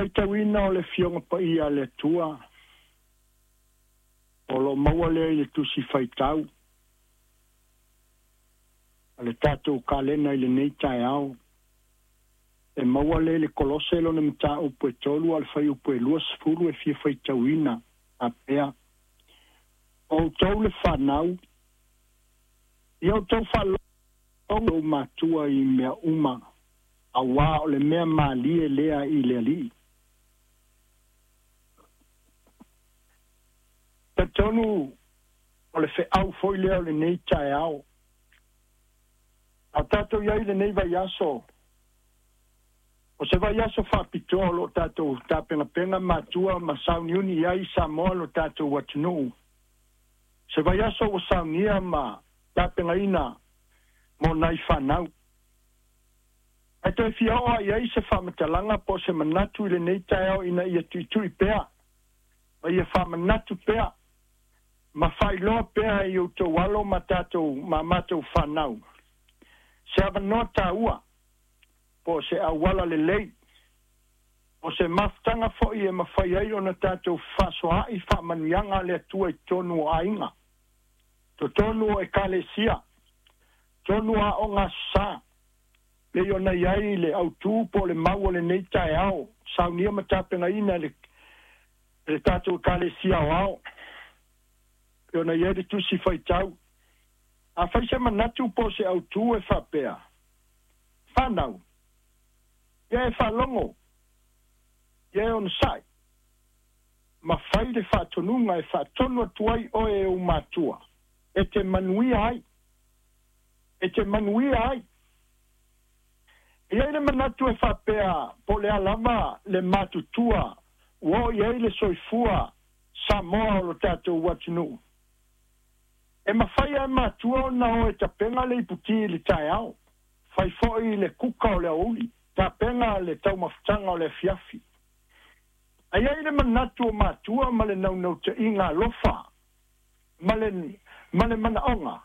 Faitauina o le Afioga Paia a le Atua, o lo o maua lea i le Tusi Faitau a le tatou kalena i lenei taeao. E maua lea i le Kolose lona mataupu e 3 a o le fuaiupu e 20 e fia faitauina faapea, O outou le fanau, ia outou faalogo i outou matua i mea uma, auā o le mea malie lea i le Alii. Talitonu o le feau foi lea o lenei taeao. A o tatou i ai i lenei vaiaso, o se vaiaso faapitoa o lo o tatou tapenapena matua ma sauniuni i ai Samoa lo tatou atunuu. Se vaiaso ua saunia ma tapenaina mo nai fanau. Ae toe fia oo lava i ai se faamatalaga po o se manatu i lenei taeao ina ia tuitui pea ma ia faamanatu pea ma faailoa pea i outou alo ma tatou ma matou fanau se avanoa taua po o se auala lelei po o se mafutaga foi e mafai ai ona tatou fefaasoaai faamanuiaga a le Atua i totonu o aiga, totonu o Ekalesia, totonu o aoga Aso Sa, pei ona i ai le autu po o le mau o lenei taeao, saunia ma tapenaina e le, e le tatou Ekalesia Aoao, pei ona i ai le Tusi Faitau. Afai se manatu po o se autu e faapea, Fanau, ia e faalogo, ia e onosai, ma fai le faatonuga e faatonu atu ai oe e ou matua, e te manuia ai, e te manuia ai. E i ai le manatu e faapea po o le a lava le matutua ua oo i ai le soifua Samoa o lo tatou atunuu, e mafai lava e matua ona o e tapena le iputi i le taeao, fai foi le kuka o le aoauli, tapena le taumafataga o le afiafi. Ae i ai le manatu o matua ma le naunautaiga alofa ma le, ma le manaoga,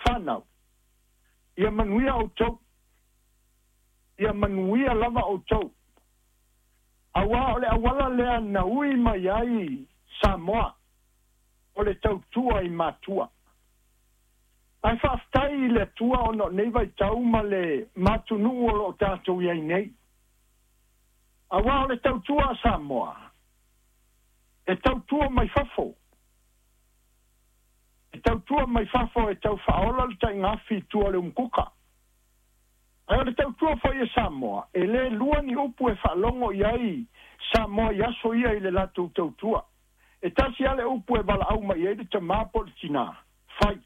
fanau, ia manuia outou, ia manuia lava outou, auā o le auala lea na ui mai ai Samoa, o le tautua i matua. Ae faafetai i le Atua ona o nei vaitau ma le matunuu o lo o tatou i ai nei. Aua o le tautua a Samoa, e tautua mai fafo. E tautua mai fafo e tau faaola le taigaafi i tua o le umukuka. Ae o le tautua foi a Samoa, e le lua ni upu e faalogo i ai Samoa i aso ia i le latou tautua. E tasi lava le upu e valaau mai ai le tama po o le tina, fai.